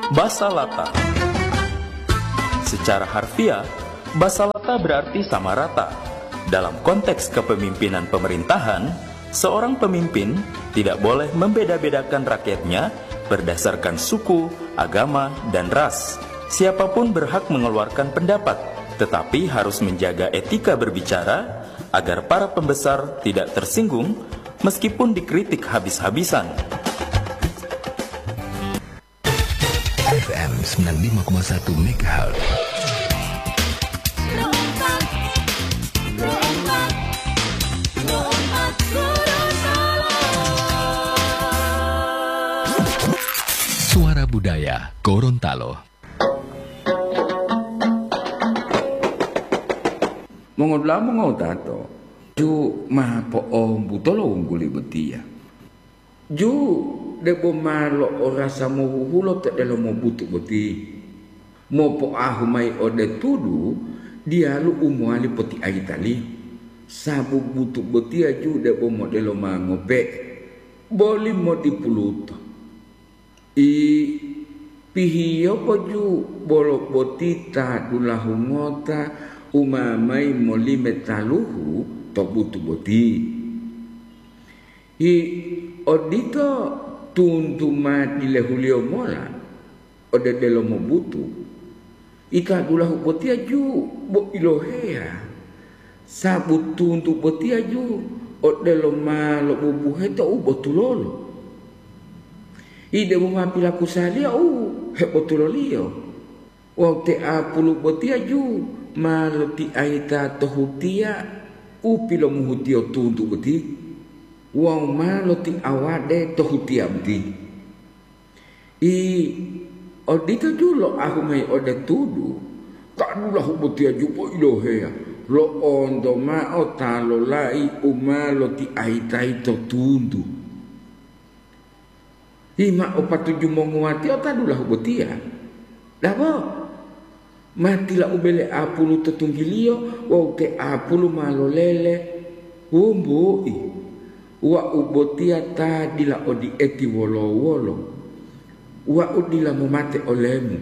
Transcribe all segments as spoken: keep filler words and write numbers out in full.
Basalata. Secara harfiah, basalata berarti sama rata. Dalam konteks kepemimpinan pemerintahan, seorang pemimpin tidak boleh membeda-bedakan rakyatnya berdasarkan suku, agama, dan ras. Siapapun berhak mengeluarkan pendapat, tetapi harus menjaga etika berbicara agar para pembesar tidak tersinggung meskipun dikritik habis-habisan. F M sembilan lima koma satu megahertz. Suara Budaya Gorontalo. Mongodula'a mongotato, ju ma po'ombuto lo wungguli botiya. Ju debo ma lo'orasa mohuhulo to delomo butu boti. Mopoahu mayi ode tudu diyalu u mowali potiayitaliyo, sabu butu botiya ju debo modelo ma ngope'e, boli modipuluto. I pihiyopo ju bolo boti ta dulahu ngota u ma mayi molime taluhu to butu boti. Hi odito tuntu ma dilehuliyo mola ode delomo butu. Ita dulahu botiya ju bo iloheya, sabu tuntu botiya ju odelo ma lobubuhe to u botulolo. Ide bo ma pilakusaliyo u hebotuloliyo. Wawu te apulu botiya ju ma lotiayita to hutiya u pilomuhutiyo tuntu boti, wawu ma lotiawade to hutiya boti. I odito ju loahu mayi ode tudu, ta dulahu botiya ju bo iloheya, lo'onto mao ta lolai u ma lotiayitayi to tuntu. Hima o patuju monguwatio ta dulahu botiya. Dabo, ma tilaubele apulu to tunggiliyo wawu te apulu ma lolele, wombu'i, wau botiya ta dila odi'eti wolo-wolo, wau dila momate olemu.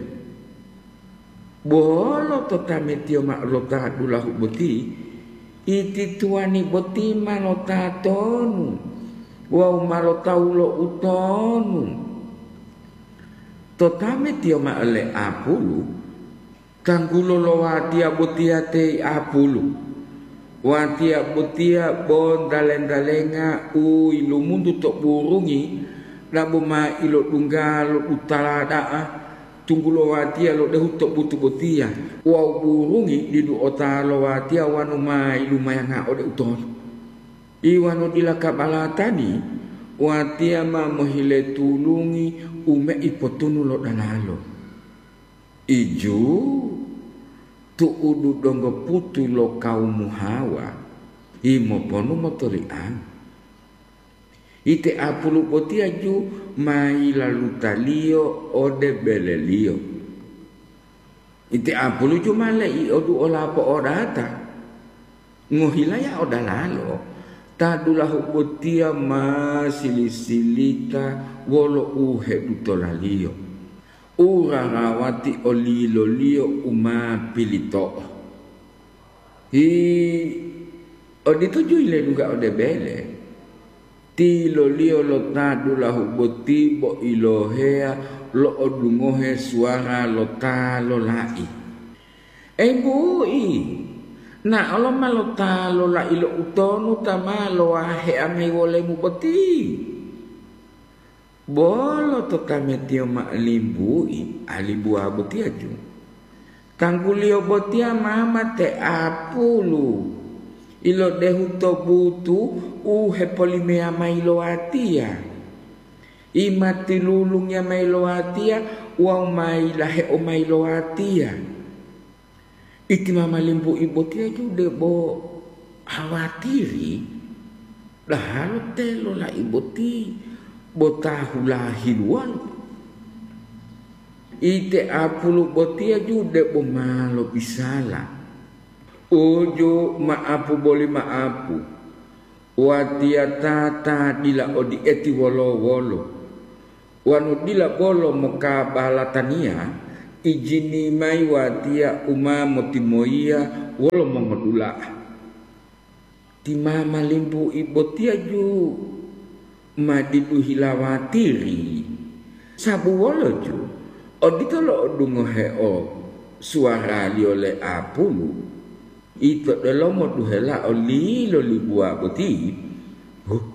Bolo to tametiyo ma'o lo ta dulahu boti, iti tuwani boti ma lotatonu wawu ma lotawu lo utonu. To tametiyo ma'o le apulu, tanggulo lo watiya botiya teyi apulu. Watiya botiya bo ntale-ntalenga u yilumuntu to burungi, dabo ma ilodungga lo dutala da'a, tunggulo watiya lodehu to butu botiya, wawu burungi didu ota lo watiya wanu ma yilumayanga ode utonu. Iwanu dila kabalatani, watiya ma mohile tulungi u me'i potunu lo dalalo. Iju tu'udu donggo putu lo kawumu Hawa, himoponu motoliango. Ite apulu botiya ju ma yilalutaliyo ode beleliyo. Ite apulu ju ma leiodu olapo odata. Ngohilaya odalalo, ta dulahu botiya ma sili-silita wolo u hedutolaliyo, u rarawati oliloliyo u ma pilito'o. Hi, odito ju yiledungga ode bele, tiloliyo lo ta dulahu boti bo iloheya lo'odungohe suwara lo ta lolai. Embu'i, na'olo ma lo ta lolai lo utonu ta ma lowahea mayi wolemu boti. Bolo to tametiyo ma'o limbu'i, alibuwa botiyaju. Tangguliyo botiya ma mate apulu, ilodehu to butu u hepolimeya mayi lo watiya. Imatilulungiya mayi lo watiya wawu ma yilaheo mayi lo watiya. Iti mama limbu'i botiya ju debo hawatiri, dahalo te lolai boti bo ta hulahiluwalo. Ite apulu botiya ju debo ma lobisala. Uju ma'apu boli ma'apu. Watiya ta ta dila odi'eti wolo-wolo. Wonu dila bolo mokabalataniya, ijini mayi watiya u ma motimoyiya wolo mongodula'a. Ti mama limbu'i botiya ju ma didu hilawatiri. Sabu wolo ju, odito lo'odungoheo suwaraliyo le apulu. Ito delomo duhelao lilo libuwa boti, huh,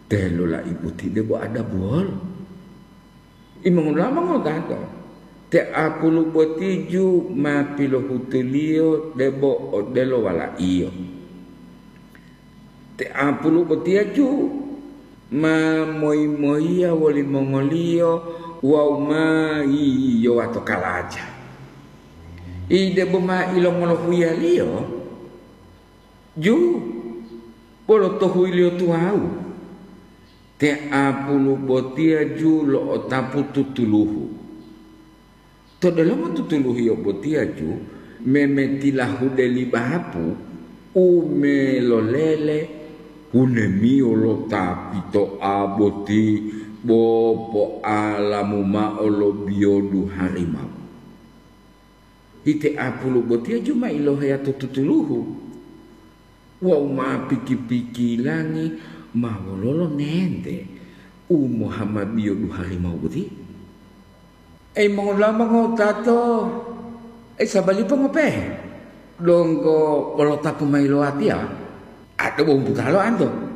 telo lai boti debo adabuwolo. Imongolama ngodato, te apulu boti ju ma pilohutuliyo debo odelo walaiyo. Te apulu botiya ju ma moyi-moyiya wolimongoliyo wawu ma yiyowa to kalaja. Ide boma ilongolohuiyaliyo ju bolo to huyiliyo tuwawu. Te apulu botiya ju lo'otapu tutuluhu. To delomo tutuluhiyo botiya ju memetilahude li bapu u melolele hunemiyo lo ta pito'a boti bo po'alamu mao lo biyodu harimau. Ite apulu botiya ju ma iloheya to tutuluhu wawu ma piki-pikilangi ma wololo nente u mohama biyodu harimau boti. Ei mongolama ngotato, ei sabalipo ngopehe, donggo wolotapu mayi lo watiya, ade bo humputalo anto.